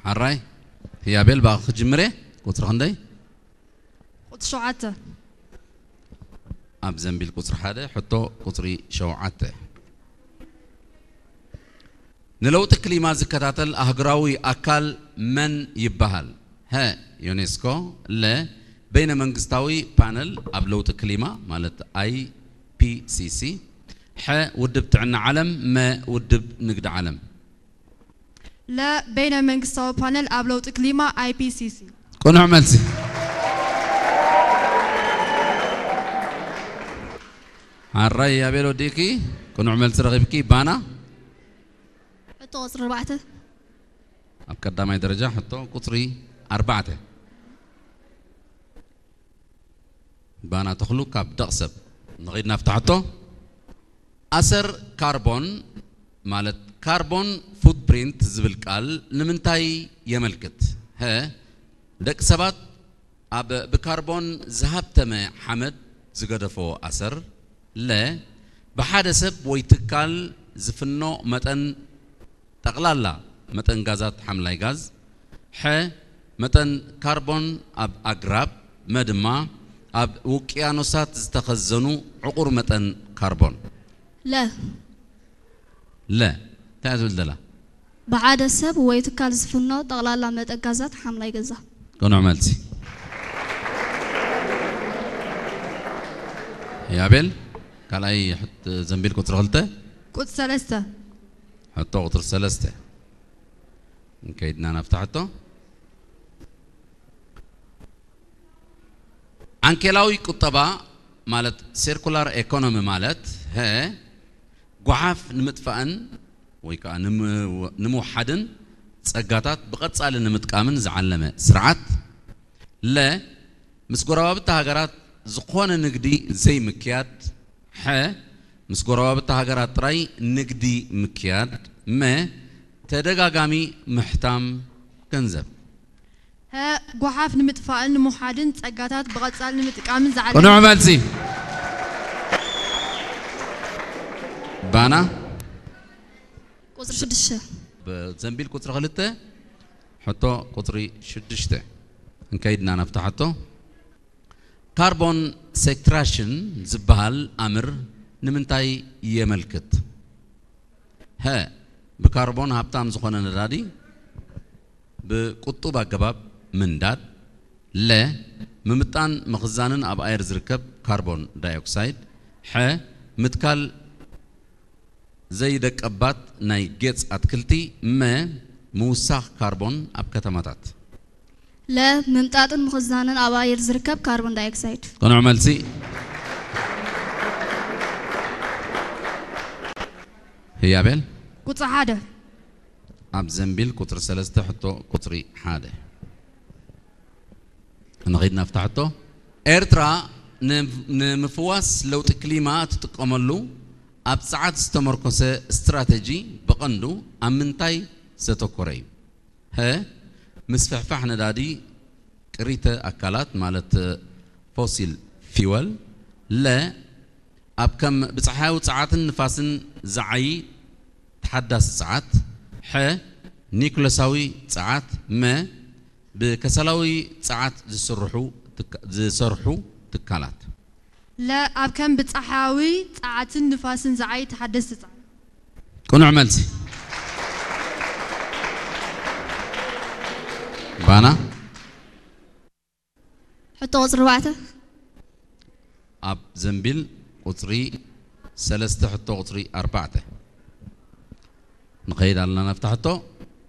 ኣራይ ህያቤል፣ ብኣኺ ክጅምር እየ። ቁጽሪ ክንደይ? ቁጽሪ ሸውዓተ። ኣብ ዘንቢል ቁጽሪ ሓደ ሕቶ ቁጽሪ ሸውዓተ። ንለውጢ ክሊማ ዝከታተል ኣህጉራዊ ኣካል መን ይበሃል? ሀ፣ ዩኔስኮ። ለ፣ በይነ መንግስታዊ ፓነል ኣብ ለውጢ ክሊማ ማለት ኣይ ፒ ሲ ሲ። ሐ፣ ውድብ ጥዕና ዓለም። መ፣ ውድብ ንግዲ ዓለም። ለ፣ በይነ መንግስታዊ ፓነል ኣብ ለውጢ ክሊማ ኣይ ፒ ሲ ሲ። ቅኑዕ መልሲ። ሓራይ ያቤል ወዲእኪ ቅኑዕ መልሲ ረኺብኪ። ባና ሕቶ ቁፅሪ ኣርባዕተ። ኣብ ቀዳማይ ደረጃ ሕቶ ቁፅሪ ኣርባዕተ። ባና ተኽሉ ካብ ደቕሰብ። ንኺድ ናብታ ሕቶ። ኣሰር ካርቦን ማለት ካርቦን ፉትፕሪንት ዝብል ቃል ንምንታይ የመልክት? ሀ፣ ደቂ ሰባት ኣብ ብካርቦን ዝሃብተመ ሓመድ ዝገደፎ ኣሰር። ለ፣ ብሓደ ሰብ ወይ ትካል ዝፍኖ መጠን ጠቕላላ መጠን ጋዛት ሓምላይ ጋዝ። ሐ፣ መጠን ካርቦን ኣብ ኣግራብ። መ ድማ ኣብ ውቅያኖሳት ዝተኸዘኑ ዕቑር መጠን ካርቦን። ለ፣ ለ፣ እንታይ እያ ትብል ዘላ? ብሓደ ሰብ ወይ ትካል ዝፍኖ ጠቕላላ መጠን ጋዛት ሓምላይ ገዛ። ቅኑዕ መልሲ። ያቤል ካልኣይ ሕት-፣ ዘንቢል ቁፅሪ ክልተ። ቁፅሪ ሰለስተ። ሕቶ ቁፅሪ ሰለስተ። እንከይድና ናብታ ሕቶ። ዓንኬላዊ ቁጠባ ማለት ሴርኩላር ኤኮኖሚ ማለት ሀ፣ ጓሓፍ ንምጥፋእን ወይ ከዓ ንምው-፣ ንምውሓድን ጸጋታት ብቐጻሊ ንምጥቃምን ዝዓለመ ስርዓት። ለ፣ ምስ ጎረባብቲ ሃገራት ዝኾነ ንግዲ ዘይምክያድ። ሐ፣ ምስ ጎረባብቲ ሃገራት ጥራይ ንግዲ ምክያድ። መ፣ ተደጋጋሚ ምሕታም ገንዘብ። ሀ፣ ጓሓፍ ንምጥፋእን ንምውሓድን ጸጋታት ብቐጻሊ ንምጥቃምን ዝዓለመ። ቅኑዕ መልሲ። ባና ቁፅሪ ሽዱሽተ። ዘንቢል ቁፅሪ ክልተ ሕቶ ቁፅሪ ሽዱሽተ። እንከይድና ናብታ ሕቶ። ካርቦን ሴክትራሽን ዝበሃል ኣምር ንምንታይ የመልክት? ሀ፣ ብካርቦን ሃብታም ዝኾነ ነዳዲ ብቁጡብ ኣገባብ ምንዳድ። ለ፣ ምምጣን ምኽዛንን ኣብ ኣየር ዝርከብ ካርቦን ዳይኦክሳይድ። ሐ፣ ምትካል ዘይደቀባት ናይ ጌጽ ኣትክልቲ። መ፣ ምውሳኽ ካርቦን ኣብ ከተማታት። ለ፣ ምምጣጥን ምኽዛንን ኣብ ኣየር ዝርከብ ካርቦን ዳይኦክሳይድ። ቅኑዕ መልሲ። ህያቤል ቁፅሪ ሓደ። ኣብ ዘንቢል ቁፅሪ ሰለስተ ሕቶ ቁፅሪ ሓደ። ንኺድ ናብታ ሕቶ። ኤርትራ ን-፣ ንምፍዋስ ለውጢ ክሊማ ትጥቀመሉ ኣብ ጸዓት ዝተመርኮሰ ስትራተጂ ብቐንዱ ኣብ ምንታይ ዘተኮረ እዩ? ሀ፣ ምስፍሕፋሕ ነዳዲ ቅሪተ ኣካላት ማለት ፎሲል ፊወል። ለ፣ ኣብ ከም ብጸሓያዊ ጸዓትን ንፋስን ዝዓዪ ተሓዳሲ ጸዓት። ሐ፣ ኒኩለሳዊ ጸዓት። መ፣ ብከሰላዊ ጸዓት ዝስርሑ ትካ-፣ ዝሰርሑ ትካላት። ለ፣ ኣብ ከም ብጸሓያዊ ጸዓትን ንፋስን ዝዓዪ ተሓደስቲ ጸዓት። ቅኑዕ መልሲ። ባና ሕቶ ቁፅሪ ኣርባዕተ። ኣብ ዘንቢል ቁፅሪ ሰለስተ ሕቶ ቁፅሪ ኣርባዕተ። ንኸይድ ኣለና ናብታ ሕቶ።